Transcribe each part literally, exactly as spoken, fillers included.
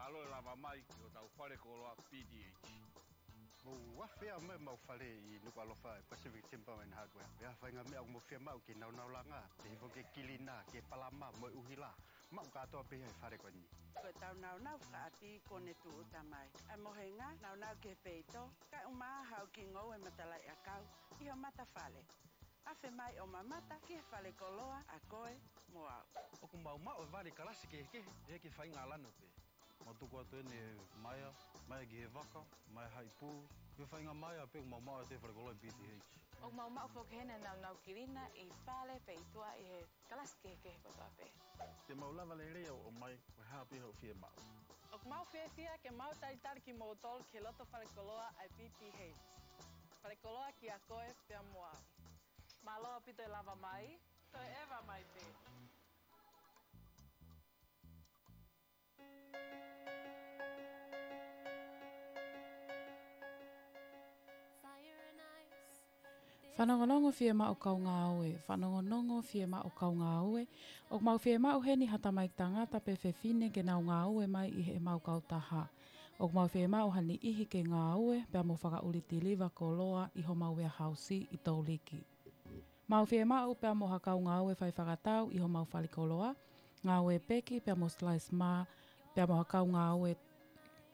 Mālō e lava mai ki hotau fale koloa P T H. Mou afe ā mai ʻemau fale ʻi Nukuʻalofa ʻi Pacific Timber and Hardware. Pea faʻahinga meʻa ʻoku mou fiemaʻu ki he nāunau langa, pehē foki ki he kilina, ki he palama mo e ʻuhila. Maʻu kātoa pē ia he fale ko eni. Ko ʻetau nāunau fakaʻapi kuo ne tūʻuta mai. ʻA e mohenga, nāunau ki he peito, kae ʻumaʻā haʻo kiʻi ngoue matalaʻiʻakau ʻi ho matafale. Afe mai ʻo mamata ki he fale koloa ʻa koe mo au. ʻOku mau maʻu e vale kalasi kehekehe, ʻe ki he faʻahinga lanu pē. Mau tuku atu eni e maea, maea ki he vaka, maea haʻi pū, ki he faʻahinga maea pē ʻoku mau maʻu ʻi he fale koloa P T H. ʻOku mau maʻu foki heni e nāunau kilina ʻi fale pe ʻi tuʻa ʻi he kalasi kehekehe kotoa pē. Te mau lava lelei ʻo ʻomai, ko e hā pē haʻo fiemaʻu. ʻOku mau fiefia ke mau talitali kimoutolu ki he loto fale koloa ʻa e P T H. Fale koloa kia koe pea mo au. Mālō ʻaupito e lava mai, toe ʻeva mai pē. Fanongonongo fiemaʻu kau ngāue, fanongonongo fiemaʻu kau ngāue. ʻOku mau fiemaʻu heni ha tamaiki tangata pe fefine ke nau ngāue mai ʻi heʻemau kautaha. ʻOku mau fiemaʻu ha niʻihi ke ngāue pea mo fakaʻuli tiliva koloa ʻi homau warehouse ʻi Touliki. Mau fiemaʻu pea mo ha kau ngāue fai fakatau ʻi homau fale koloa, ngāue peki pea mo slice mā, pea mo ha kau ngāue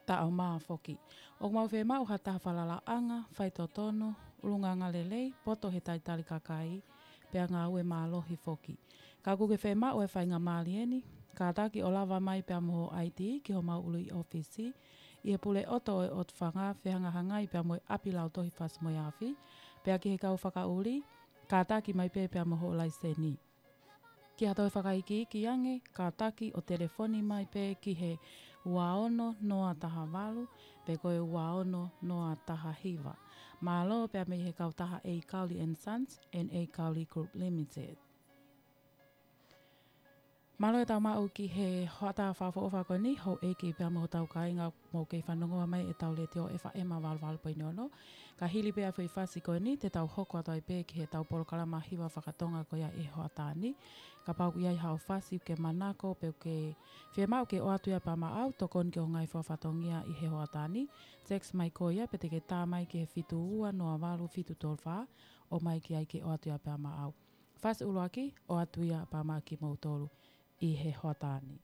taʻo mā foki. ʻOku mau fiemaʻu ha taha falalaʻanga, faitotonu, ʻulungaanga lelei, poto he talitali kakai, pea ngāue mālohi foki. Ka ʻoku ke fiemaʻu e faingamālie ni, kātaki ʻo lava mai pea mo ho I D ki homau ʻuluʻi ʻōfisi, ʻi he Puleʻoto ʻo e ʻOtu Fanga, fehangahangai pea mo e ʻapi lautohi fasi mo e afi, pea ki he kau fakaʻuli, kātaki mai pē pea mo hoʻo laiseni. Ki ha toe fakaikiiki ange, kātaki ʻo telefoni mai pē ki he ua ono noa taha valu, pe ko e ua ono noa taha hiva. Mālō pea mei he kautaha A Cowley and Sons and A Cowley Group Limited. Mālō e tau maʻu ki he hoʻatā fakaʻofoʻofa ko eni, houʻeiki pea mo hotau kāinga, mou kei fanongoa mai ʻetau letiō F M valu valu poini ono. Ka hili pē ʻa e foʻi fasi ko eni, te tau hoko atu ai pē ki heʻetau polokalama hiva fakatonga ko ia ʻi he hoʻatā ni. Kapau ʻoku ʻi ai haʻo fasi ʻoku ke manako, pe ʻoku ke fiemaʻu ke ʻoatu ia pea maʻau, tokoni ki hoʻo ngaahi fakafatongia ʻi he hoʻatā ni. Text mai ko ia, pe te ke tā mai ki he fitu ua noa valu fitu tolu fā, ʻomai ki ai ke ʻoatu ia pea maʻau. Fasi ʻuluaki, ʻoatu ia pea maʻa kimoutolu ʻi he hoʻatā ni.